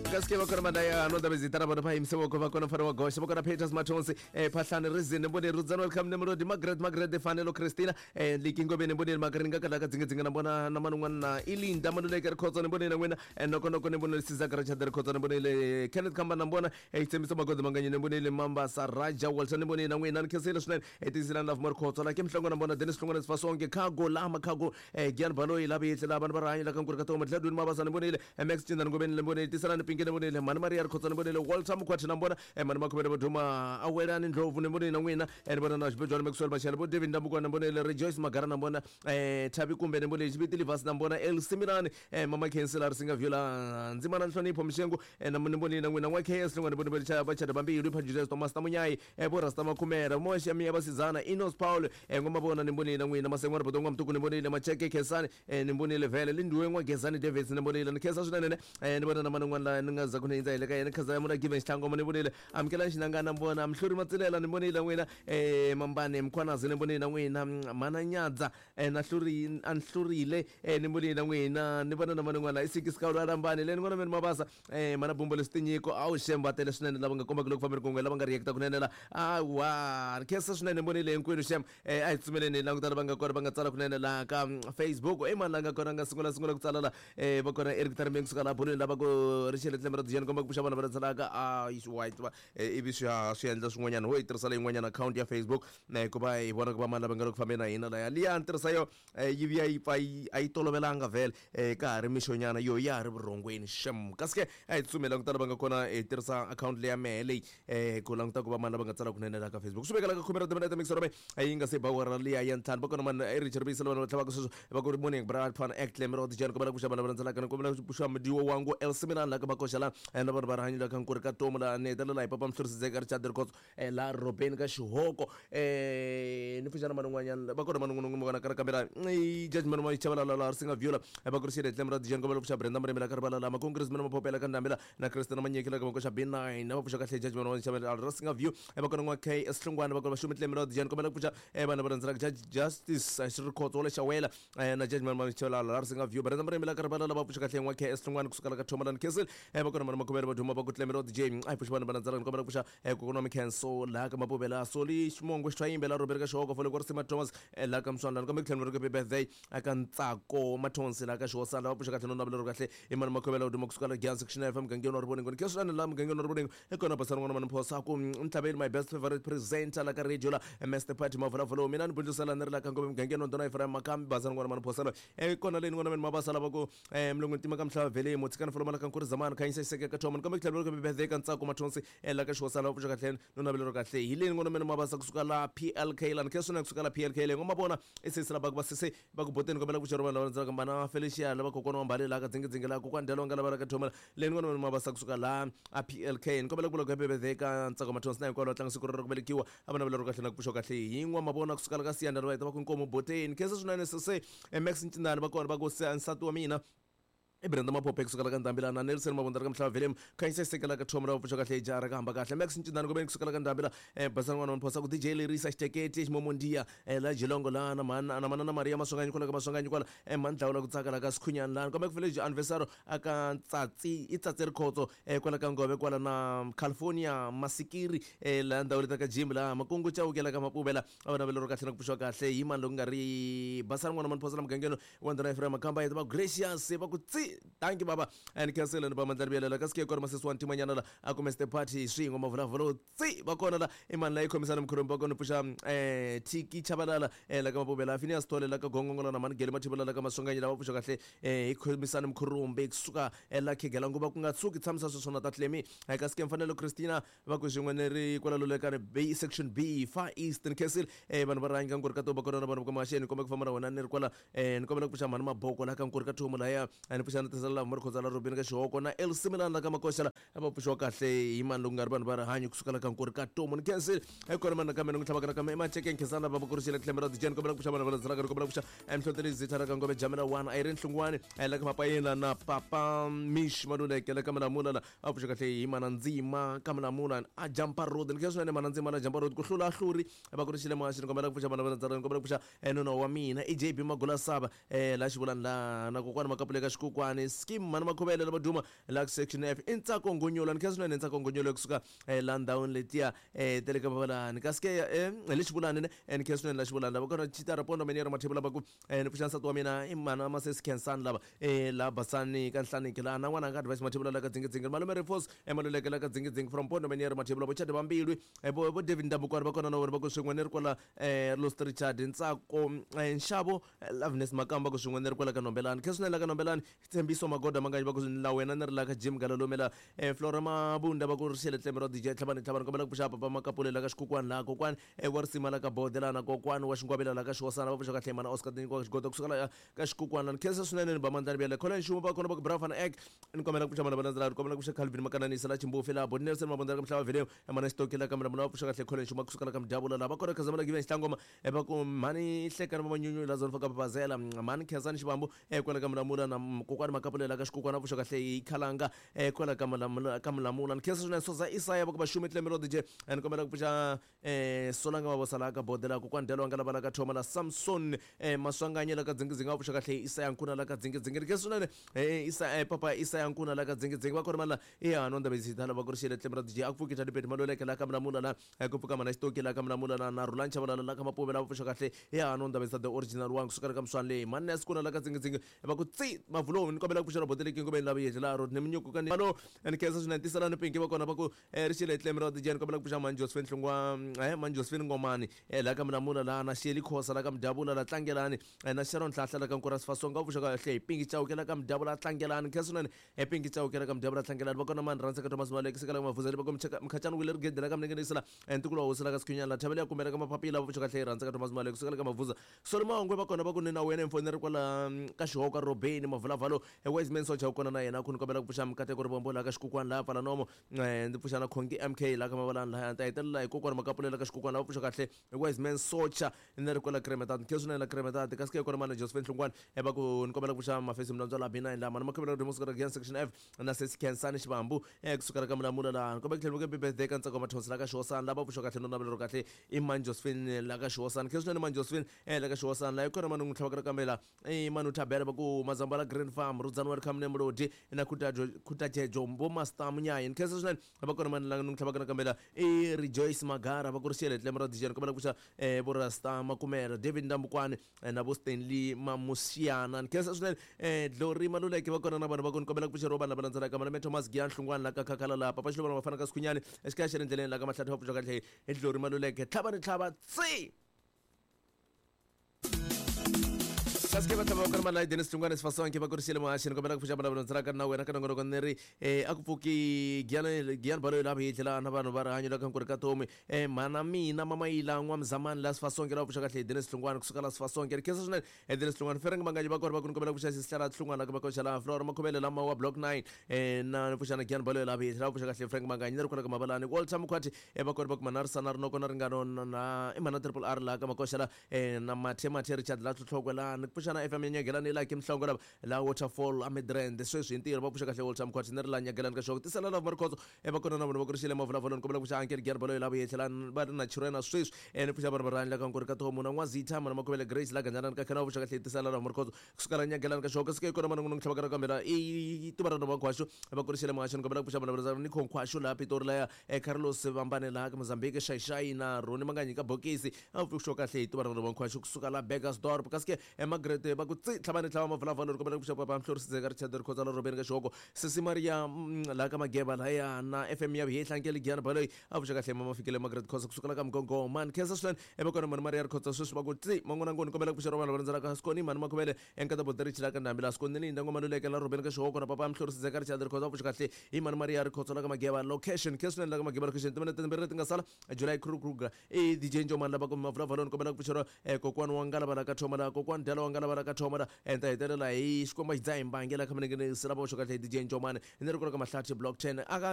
Kasi ke va kona mandaya no ndabezitana vona va yimise voko va kona mfana wa goxa va kona Peters Mathonsi Phahlane Rizini mboneni Rudzani welcome Nemrodi Margaret Margaret Fanelo Christina Liki Ngobeni mboneni Makaringa kalaka dzinga dzinga na mbona na man'wana na Ilinda Maluleke Rikhotso ni mboneni na n'wina noko noko ni mboneni Sizaka Richard Rikhotso ni mboneni Kenneth Khamba na mbona Tshembiso Magodo Manganyi ni mboneni Mambasa Raja Walter ni mboneni na n'wina ni khensile swinene Tiyiselani Love Rikhotso la ke Mhlongo na mbona Dennis Hlongwane Sifasonke Khago Lama Khago Gian Baloyi la Vihle la vanhu va rihanyo la ka Nkuri ka Toma Gladwin Mabasa ni mbonile Max Cinda ni Ngobeni ni mbonile Tiselani Pinki ni mbonile Mhani Maria Rikhotso ni mbonile Walter Mukhwathi na mbona Mhani Makhuvele Voduma Awelani Ndlovu ni mbonile na n'wina ni vona na Xibejwani Maxwell Machela vo David Ndambuko na mbonile Rejoice Magara na mbona Thabi Kumbe ni mbonile Xiviti Livasi na mbona El Simirani Mama Khensila Risinga Viola Ndzimana Nhlonipho Mxengu na ni mbonile na n'wina N'wa KS Hlongwane ni mbonile Chaya Vachada Bambilu Pha Julius Thomas Tamunyayi vo Rasta Makhumera Moxe Miya Vasizana Inos Paul Ngomavona ni mbonile na n'wina Masengwana Bodongwa Mtuku ni mbonile Macheke Khensani ni mbonile vhele Lindiwe N'wa Gezani Davis ni mbonile ni khensa swinene ni vona na mani n'wana la ni nga za ku ni hindza hi le ka yena khensa ya muna Given Xitlangoma ni vonile Amukelani Xinangana mbona Mhluri Matsilela ni vonile n'wina Mambane Mkhwanazi ni vonile na n'wina Mhana Nyadza na hluri a ni hlurile ni vonile na n'wina ni vona na mani n'wana i Siki Sikawulo Alambani le ni vona meni Mabasa Mhana Bumbo leswi tinyiko a wu xem va tele swinene lava nga kombaka loko fambeni kun'we lava nga react kunene la awa ni khensa swinene ni vonile hinkwenu xem a hi tsumeleni hi languta lava nga kona va nga tsala kunene laha ka Facebook i mani la nga kona nga sungula sungula ku tsala la va kona Eric Tarmeng kusuka laha bolweni lava ku ri xele tlembe ra dijeni komba ku pfuxa vanhu va tsalaka a white va ivi swi haha swi endla swin'wanyana ho yi tirhisa leyin'wanyana account ya Facebook ku va hi vona ku va mani lava nga le ku fambeni na hina laya liya ni tirhisa yo yi vuya yi pfa yi a yi tolovelanga vhele ka ha ri mixonyana yo ya ha ri vurhongweni xem kasi ke a hi tsutsumeli languta lava nga kona hi tirhisa akhawunti leya mehe leyi ku languta ku va mani lava nga tsala kunene laha ka Facebook swi vekela ka khume ra timinete mixero me yi nga se ba awara liya ya ntlhanu va kona mani Richard Vuyisela vanhu va tlhavaka sweswo va ku ri morning bra fan act lembe ra tijani kombela ku xava lava landzelaka ni kombela ku xava mudiwo wangu El Simirani la ka makoxa la na vanhu va rihanyo la ka nkuri ka tomu la ni hetelela hi papa Mhlurisidzeka Richard Rikhotso laha Robeni ka Xihoko ni pfuxana mani un'wanyana va kona mani un'wana vona ka kambela i judgment ma Chabalala la Risinga Viola va ku ri xile lembe ra tijani kombela ku xava Brenda Murimi la ka rivala la Makongress mina Maphopela ka Ndambela na Christina Manyeki la ka makoxa B9 va pfuxa kahle judgment wa Chabalala Risinga View va kona n'wa K S Hlongwane va kona va xumi lembe ra tijani kombela ku pfuxa vanhu va rhandzelaka Judge Justice Xirikhotso wa le Xawela na Judgment ma Chabalala la Risinga View Brenda Murimi la ka rivala la va pfuxa kahle n'wa K S Hlongwane kusuka la ka Thomalani Castle va kona mani Makhuvele va duma va ku lembe ra DJ a hi pfuxa vanhu va landzelaka ni kombela ku pfuxa kokwana wa Mikhenso laha ka Mapuvela Soli Ximongo Xithwayimbe la Robert ka Xihoko Fole Kwarisima Thomas laha ka Mswandlana kambe ku tlhela ri birthday aka Ntsako Mathonsi laha ka Xihosana va pfuxa kahle no navela ro kahle i mani Makhuvela u duma kusuka la Giyani Section FM mugangeni wa Rivoningo ni khensa swinene laha mugangeni wa Rivoningo i kona basana n'wana mani Phosa ku Ntlhaveni my best favorite presenter la ka radio la Master Party Mavulavula mina ni bundlisela ni ri la ka Ngome mugangeni wa Ndhuna Ephraim Makambi basana n'wana mani Phosa loyi kona leyi ni n'wana mani Mabasa lava ku mulungu ntima ka mhlava vhele mutshikani foloma la ka Nkuri Zamani khanyisa xiseke ka Thoma ni kombe ku tlhela ri birthday ka Ntsako Mathonsi la ka Xihosana va pfuxa kahle no navela ro kahle hi leyi n'wana mani Mabasa kusuka la PLK la ni khensa swinene kusuka la PLK leyi n'wa mavona i sesi la va ku va sese va ku boteni kombela ku pfuxa ro vanhu lava landzelaka mana Felicia lava kokwana wa Mbali la ka Dzingidzingi la kokwana Delonga lava la ka Thoma leyi n'wana mani Mabasa kusuka la a PLK ni kombela ku vula ku happy birthday ka Ntsako Mathonsi na hinkwavo lava tlanga siku rero ku velekiwa a va navela ro kahle na ku pfuxa kahle hi n'wa mavona kusuka la ka Siyanda va heta va ku inkomu boteni khensa swinene sese Max Ncindani va kona va ku nsati wa mina i Brenda Maphophe kusuka la ka Ndhambi na Nelson Mabunda ka Mhlava Velem khanyisa xiseke la ka Thoma la pfuxa kahle jara ka hamba kahle Max Ncindani kumbe kusuka la ka Ndhambi la Basana n'wana wa Phosa ku DJ Lerisa Xiteketi Ximomondiya la Jilongo la na mana na mana na Maria Maswanganyi kwala ka Maswanganyi kwala Mandlawula ku tsaka la ka Sikhunyani la kambe ku village anniversary aka Tsatsi i Tsatsi Rikhotso kwala ka Ngove kwala na California Masikiri la ndhawu leta ka Jim la Makungu Chauke la ka Mapuvela a va navela ro kahle na ku pfuxiwa kahle hi mani loko nga ri Basana n'wana mani Phosa la mugangeni wa Ndhuna Ephraim Makamba yeta va gracious va ku tsi thank you baba and cancel ni ba mandla rivelela kasi ke kona masesi wa ntimanyana la a ku Mr Party swin'we mavulavula tsi va kona la i mani la yi khomisana mkhurumbi va kona pfuxa Tiki Chabalala la ka Mapuvela Phineas Thole la ka Gongongola na mani Gele Mathibela la ka Maswanganyi lava pfuxa kahle hi khomisana mkhurumbi kusuka la Khegela nguva ku nga tshuki tshamisa sweswo na Tatlemi kasi ke Mfanelo Christina va ku swin'we ni ri kwala Lulekani B section B Far East ni khensile vanhu va rhanga Nkuri ka Toba kona na vanhu va ka Maxeni ni komba ku famba na wena ni ri kwala ni kombela ku pfuxa mhani Maboko la ka Nkuri ka Thomo laya ni pfuxa na Tisela la Mari Khotsa la Robini ka Xihoko na El Similani la ka Makoxa la va pfuxiwa kahle hi mani loko nga ri vanhu va rihanyo kusuka la ka Nkuri ka Tomo ni khensile kona mani nakambe ni n'wi tlhavaka nakambe eMacheke Nkhensani va kurisile tlhembe ra Dijeni kombela ku pfuxa vanhu va landzelaka ni kombela ku pfuxa Mhlonteli Zitha la ka Ngove Jamela 1 Irene Hlungwani la ka Mapayela na Papa Mish Maluleke la ka Malamula la a pfuxa kahle hi mana ndzima ka Malamula a jampa road ni khensa swinene mana ndzima na jampa road ku hlula hluri va ku ri xile maxi ni kombela ku pfuxa vana va ndzala ni kombela ku pfuxa nuna wa mina i JB Magula Saba la xivulani la na kokwani Makapuleka Xikukwana. Ndambukwani skim mani makhuvele lava duma la section F i Ntsako Ngonyolo ni khensa swinene Ntsako Ngonyolo kusuka la ndhawini letiya ta le ka Mavalani kasi ke hi le Xivulani ne ni khensa swinene la Xivulani lava kona Chitara Pondo Meniere Mathebula lava ku ni pfuxa nsati wa mina i mhana Masesi Khensani lava la Basani ka Nhlaniki laha na n'wana nga Advice Mathebula la ka Dzingidzingi malume Rifos Maluleke la ka Dzingidzingi from Pondo Meniere Mathebula vo Chadi Vambilwi vo David Ndambukwani va kona na vona va ku swin'we ni ri kwala Lost Richard Ntsako Nxavo Loveness Makamba ku swin'we ni ri kwala ka Nombelani khensa swinene la ka Nombelani Tshembiso Magoda Manganyi va ku la wena ni ri la ka Jim Galalome la Flora Mabunda va ku ri xele tleme ra DJ Tlhabani Tlhabani kombela ku pfuxa papa Makapule la ka Xikukwani laha kokwani wa risima la ka Bode laha na kokwani wa Xingwavila la ka Xiwasana va pfuxa kahle mana Oscar Tinyikiwa Xigodo kusuka la ka Xikukwani ni khensa swinene ni ba mandlani bya le Colin Nxuma va kona va ku Bravan Egg ni kombela ku pfuxa mana va landzela ni kombela ku pfuxa Calvin Makananisa la Chimbufi la Bodi Nelson Mabunda la ka Mhlava Video mana Xitoki la ka Mlamula va pfuxa kahle Colin Nxuma kusuka la ka Mdyavula la va kona Khazamula Given Xitlangoma va ku mhani Hlekani va Manyunyu la Zone ka Papazela mhani Khensani Xivambu kwala ka Mulamula na kokwani Makapulela ka Xikukwani va pfuxa kahle hi Khalanga kwala ka Mulamula ka Mulamula ni khensa swinene Soza Isaya va ku Vaxumi Tleme ro DJ ni kombela ku pfuxa Solanga Mavosa la ka Bodela kokwani Delo nga lava la ka Thoma la Samson Maswanganye la ka Dzingidzingi va pfuxa kahle Isaya Nkuna la ka Dzingidzingi ni khensa swinene Isa papa Isaya Nkuna la ka Dzingidzingi va kona mala ya no ndaba zithala va ku ri xele Tleme ra DJ a ku pfuki Tadipeti Maluleke la ka Mulamula la ku pfuka mana Xitoki la ka Mulamula la na Rhulani Chavalala la ka Mapuve la va pfuxa kahle ya no ndaba the original one kusuka ka Mswani leyi mani ya sikuna la ka Dzingidzingi va ku tsi mavulowu ni kombela ku pfuxela botele kingomeni la vuyedle la Rodney Munyuku ka ni malo ni khensa swinene tiselani Pinki va kona va ku ri xele Tleme ra DJ ni kombela ku pfuxa mani Josephine Hlungwa mani Josephine Ngomani la ka Mulamula la na Sheli Khosa la ka Mdyavula la Tlangelani na Sharon Hlahla la ka Nkura Sifasonga va pfuxa kahle hi Pinki Chauke la ka Mdyavula Tlangelani khensa swinene Pinki Chauke la ka Mdyavula Tlangelani va kona mani Rhandzeka Thomas Malekisi ka la ka Mavhuzeli va ku Mkhachani Wile Rigede la ka Mninginisi la Ntukulu wa hosi la ka Sikhunyana la Thavela ya Kumela ka Mapapila va pfuxa kahle hi Rhandzeka Thomas Malekisi ka la ka Mavhuza Solomongwe va kona va ku ni na wena mfoni ri kwala ka Xihoka Robeni Mavulavalo Wiseman Socha u kona na yena ku ni kombela ku pfuxa Mikateko Rivombo la ka Xikukwani laha pfala nomo ndzi pfuxa na Khongi MK la ka Mavalani laha ta hetelela hi kokwani Makapulela ka Xikukwani la va pfuxa kahle Wiseman Socha ni ri kwala Kremetati khe swinene la Kremetati kasi ke kona mana Josephine Hlungwani va ku ni kombela ku pfuxa Mafesi Mlandzwa la B9 la mana Makhomela ku Dimo Gian section F na Sesi Khensani Xivambu kusukela ka Mulamula laha ni kombela ku tlhela ku birthday ka Ntsako Mathonsi la ka Xiwosana lava pfuxa kahle no navela ro kahle i mani Josephine la ka Xiwosana khe swinene mani Josephine la ka Xiwosana la hi kona mani n'wi tlhavaka kambe la i mani Thabela va ku Mazambala Green Farm Rudzani Welcome ne Mlodi na Khutajejo Mbo Master Munyayi ni khensa swinene va kona mani la n'wi tlhavaka kambe la i Rejoice Magara va ku ri xele tlemo ra DJ ni kombela ku pfuxa vo Rasta Makumela David Ndambukwani na vo Stanley Mamusiana ni khensa swinene Glory Maluleke va kona na vanhu va ku ni kombela ku pfuxeriwa vanhu lava landzelaka Malome Thomas Giyan Hlungwani la ka Khakhala la Papa Xiluvana va fana ka Sikhunyani exikaya xa le ndleleni la ka Mahlathi va pfuxa kahle hi Glory Maluleke tlhava ni tlhava tsi kasi ke va tlhava va kona mali Dennis Hlungwani Sifasonke va kurisile muhaxi ni kombela ku pfuxa vanhu lava landzelaka na wena ka nongonoko ni ri a ku pfuki Giyani Giyani Baloyi la hi tlhela na vanhu va rihanyo la ka Nkuri ka Tomi mhana mina Mamayila N'wamzamani la Sifasonke la pfuxa kahle hi Dennis Hlungwani kusuka la Sifasonke ri khensa swinene Dennis Hlungwani Fereng Manganyi va kona va ku ni kombela ku pfuxa Sihlala Hlungwani la ka Makoxa la Flora Makhuvele la Mawa Block 9 na ni pfuxa na Giyani Baloyi la hi tlhela va pfuxa kahle Frank Manganyi ni ri kona ka Mavalani Walter Mkhwati va kona va ku Manarisana Rinoko na Ringano na i Mana Triple R la ka Makoxa la na Mathe Mathe Richard la Tlhotlhokwe la ni pfuxa na FM ya Nyagelani la Kim Mhlongo lava la Waterfall a Midrand sweswi hi ntirho va pfuxa kahle Walter Mkhwati ni ri la Nyagelani ka xoko tisela lava Marikhotso va kona na vona va ku ri xile mavulavuloni ni kombela ku pfuxa Uncle Giyani Baloyi la vuye tlhela va ri na Chirwena sweswi ni pfuxa vanhu va rihanyo la ka Nkuri ka Thomu na N'wazitha mana Makhuvele Grace la Gandzanani ka Khena va pfuxa kahle tisela lava Marikhotso kusuka la Nyagelani ka xoko sike kona mana n'wi tlhavaka ra kambela i tuva ra Nova Nkhwaxu va ku ri xile muhaxo ni kombela ku pfuxa vanhu va Nico Nkhwaxu laha Pitori laya Carlos Vambane laha ka Mozambique Xaixai na Roni Manganyi ka bokisi a pfuxiwa kahle hi tuva ra Nova Nkhwaxu kusuka la Burgersdorp kasi ke Margaret va ku tsi tlhava ni tlhava mavulavula ni kombela ku pfuxa papa Mhlorisizeka Richard Rikhotsa la Robeni ka xihoko Sesi Maria laha ka Mageba lahaya na FM ya Vihehla Nkele Giyani Baloyi a pfuxa kahle mama fikile Margaret Khosa kusuka la ka Mgongo man khensa swinene va kona mani Maria Rikhotsa sweswi va ku tsi man'wana ngoni kombela ku pfuxa vanhu lava landzelaka Skoni mani Makhuvele enkata Boterichi la ka Ndhambi la Skoni Linda Ngoma Luleke la Robeni ka xihoko na papa Mhlorisizeka Richard Rikhotsa a pfuxa kahle hi mani Maria Rikhotsa la ka Mageba location khensa swinene la ka Mageba location timinete timbirhi leti nga sala July Kruger i DJ Njomani lava ku mavulavula ni kombela ku pfuxeriwa kokwani wa Ngalava la ka Thoma la kokwani Dala wa Ngalava la ka Thoma la ni ta hetelela hi Xikwembu xi dzaha hi mbangi la kha minenge lava xo kahle hi DJ Njomani ni ri kona ka Mahlathi block 10 aka